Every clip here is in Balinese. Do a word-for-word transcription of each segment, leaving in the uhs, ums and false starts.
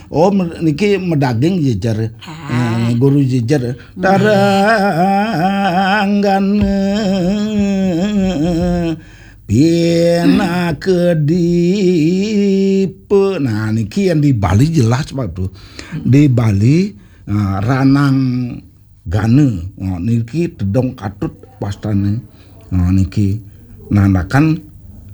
Oh, me- niki medaging jejer. Eh, guru jejer. Taranggan pinaka dipe. Nah, niki yang di Bali jelas, Pak, tuh. Di Bali, eh, ranang gana. Oh, niki tedong katut wastane. Oh, niki nandakan,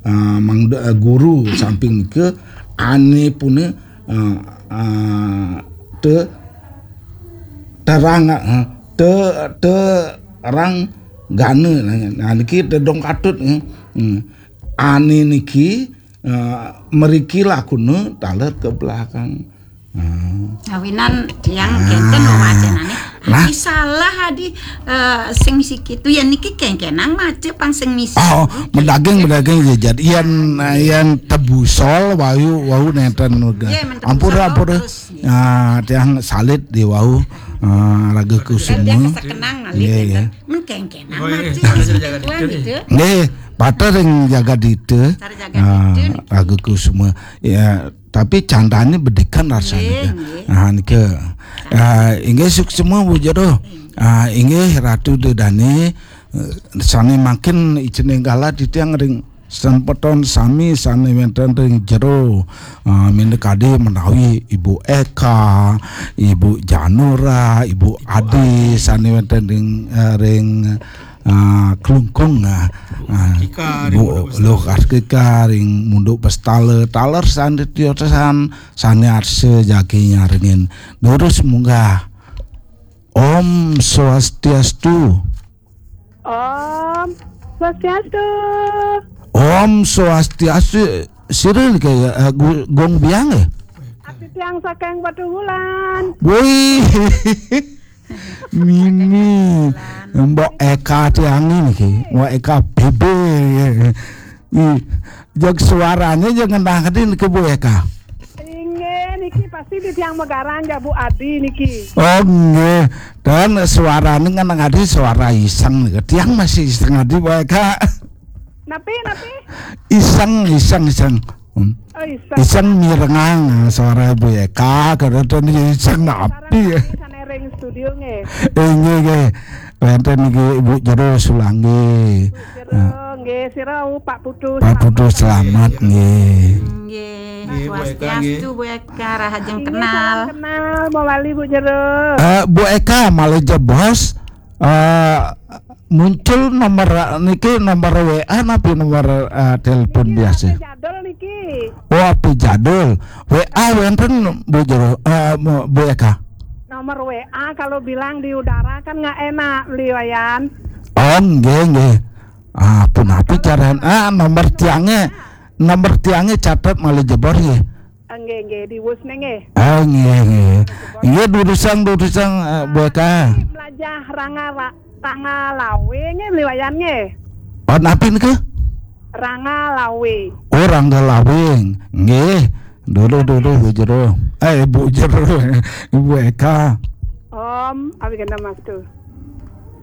eh, mangda, eh, guru samping nika ane pune, eh, eh, te terang, eh, te terang gana. Nah, niki tedong katut, eh. Hmm. Ane niki, eh, mriki lakune taler ke belakang. Hmm. Awinan tiang kenten loh wacenane. Nah. Adi salah, adi, eh, sing misi kitu ya niki kengkenang mace pang sing misi. Oh, medaging, medaging ya, jad. Yen, yen tebusol wau, wau nenten uga. Nggih, men tebusol ampura, ampura. Terus, nggih. Ah, tiang salit di wau, ah, raga kusuma. Tiang kesekenang ngalih. Nggih, nggih. Men kengkenang mace sing misi kitu. Nggih, patra ring jagadita. Cara jagadita niki. Ah, raga kusuma. Ya, tapi candane bedikan rasane. Nggih, nggih. Ah, nika. Ah, inggih suksma Bu Jero. Ah, inggih Ratu Dedane, eh, sane mangkin icening galah titiang ring sempeton sami sane wenten ring jero. Ah, minakadi menawi Ibu Eka, Ibu Janura, Ibu Adi sane wenten ring, eh, ring ah, Klungkung, ah, ah, Kika, Bu Rindu Luh Kartika ring Munduk Bestala, taler sane tiosan, sane arsa jagi nyarengin. Durus munggah. Om Swastiastu. Om Swastiastu. Om Swastiastu. Sira kaya, eh, gu- gong biang, eh? Ati tiang saking Batu Wulan. Woi. Mimi, Mbok Eka tiang niki, Mbok Eka B B. Ih, jeg suarane jeg ngenah adi niki Bu Eka. Inggih, niki pasti di tiang Megaran ya Bu Adi niki. Oh, nggih. Dan suarane ngenah adi suara iseng niki. Tiang masih iseng adi Bu Eka. Napi, napi? Iseng, iseng, iseng. Hmm. Oh, iseng. Iseng mirengang suara Bu Eka, kadang iseng napi. Sareng sami sane ring studio nggih. Eh, nggih, nggih. Wenten niki Ibu Jero Sulanggi. Jero, nggih, sira, oh, Pak Putu, Pak Putu selamat, nggih. Nggih. Nggih, Bu Eka, nggih. Swastiastu, Bu Eka, rahajeng. Inggih, kenal. Salam kenal, mawali Bu Jero. Eh, Bu Eka, malih jebos, eh, muncul nomor niki, nomor W A napi nomor, eh, telepon biasa? Jadul niki. Oh, api jadul. W A wenten Bu Jero, eh, Bu Eka? Nomor W A kalau bilang di udara kan nggak enak, Beli Wayan. Oh, nggih, nggih. Ah, punapi carane? Ah, nomor tiange, nomor tiange catet malih jebos nggih. Ah, nggih, nggih, diwus nggih. Ah, nggih, nggih. Nggih, durusang, durusang, eh, Bu Eka. Melajah Ranga Ra- Ranga Lawe nggih, Beli Wayan nggih. Oh, napi nika? Ranga Lawe. Oh, Rangga Lawing. Nggih. Dulu, dulu, Bu Jero. Eh, Bu Jero. Ibu Eka. Om Awigandamastu.